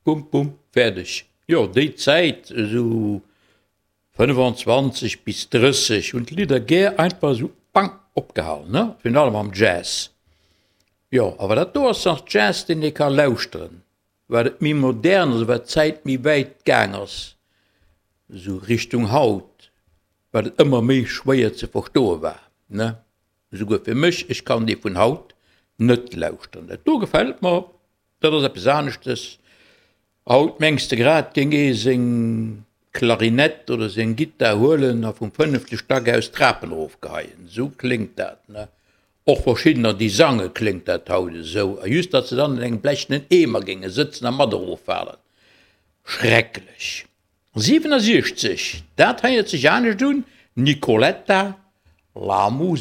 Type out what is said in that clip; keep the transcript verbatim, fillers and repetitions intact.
Bum, bum, fäerdeg. Jo, déi Zäit, esou fënnefanzwanzeg bis drësseg, hunn d'Lidder gär einfach esou bang opgehal, ne? Virun allem am Jazz. Jo, awer dat do ass nach Jazz, deen ee ka lauschteren. Wat et méi modern ass, wat d'Zäit méi wäit gaang ass, esou Richtung haut, wat et ëmmer méi schwéier ze verstoe war, ne? Esouguer fir mech, ech kann déi vun haut net lauschteren. Dat do gefält mer, dat ass eppes aneschtes. Haut mengs de grad, géing ee seng Klarinett oder seng Gittar huelen a vum fënnefte Stack aus d'Trapen erofgeheien. Esou kléngt dat, ne? Och verschiddener, déi sange kléngt dat haut esou, a just datt se dann an engem blechenen Eemer géinge sëtzen a mat eroffalen. Schrecklech. siwenasiechzeg, dat héiert sech anescht un, Nicoletta, La musica.